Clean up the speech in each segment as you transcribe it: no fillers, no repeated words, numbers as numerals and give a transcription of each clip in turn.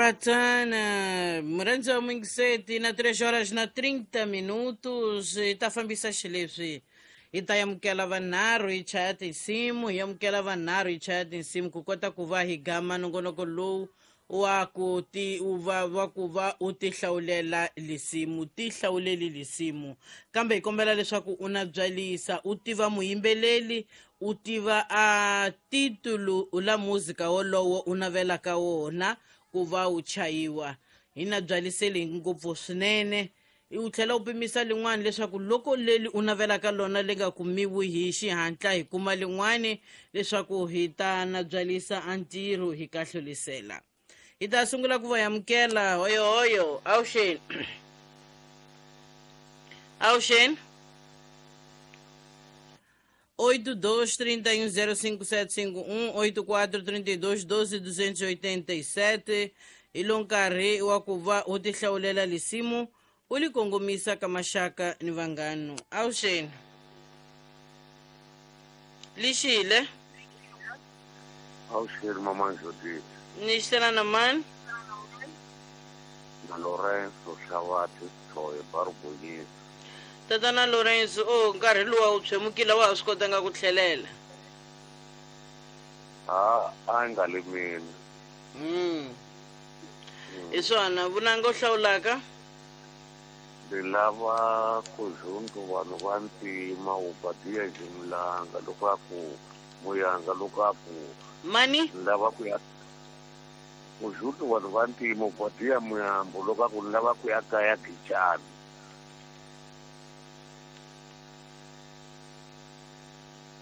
Ratana murhandzi wa muyingiseti na 3 horas na 30 minutos hi ta fambisa xileswi hi ta amukela vanharhu hi chaya tinsimu hi amukela vanharhu hi chaya tinsimu ku kota ku va hi gama nongonoko lowu wa ku ti u va wa ku va u ti hlawulela lisimu ti hlawuleli lisimu kambe hi kombela leswaku u na byalisa u tiva muyimbeleli u tiva a titulu la muzika wolowo u navelaka wona ku va wu chayiwa hi na byaliseli ngopfu swinene u tlhela u pimisa lin'wana leswaku loko leli u navelaka lona li nga kumiwi hi xihatla hi kuma lin'wani leswaku hi ta na byalisa a ntirho hi kahlulisela hi ta sungula ku va amukela hoyohoyo awuxeni awuxeni 82 31 05751 84 32 12 287 hi lo nkarhi wa ku va u tihlawulela lisimu u li kongomisa ka maxaka ni vanghano awuxeni lixile Awuxeni mama Judith. Ni xisela na mani? Na Lorenzo Xavati Thoye Barugonyisa. Tatana Lorenzo, o nkarhi luwa wu tshwemukile wa ha swi kotanga ku tlhelela. A a nga le mina. Hi swona vunanga u hlawulaka. Ni lava ku zundu vanhu va ntima u badiya jimlanga loko a ku muyanga loko a ku mani ni lava ku ya ku zundu vanhu va ntima u badiya muyambo loko a ku ni lava ku ya kaya Gijani.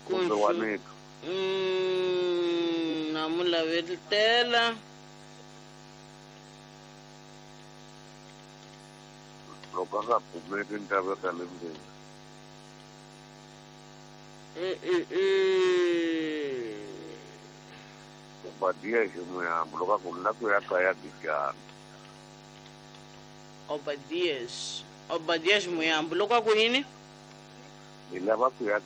Kumbe wa nito. Na mu lavetela. Loko a nga kumeki ni ta veka le ndzeni. Obadiya Ximuyambo loko a ku ni lava ku ya kaya Gijani. Obadias Obadias Muyambo loko a ku yini? Ni lava ku ya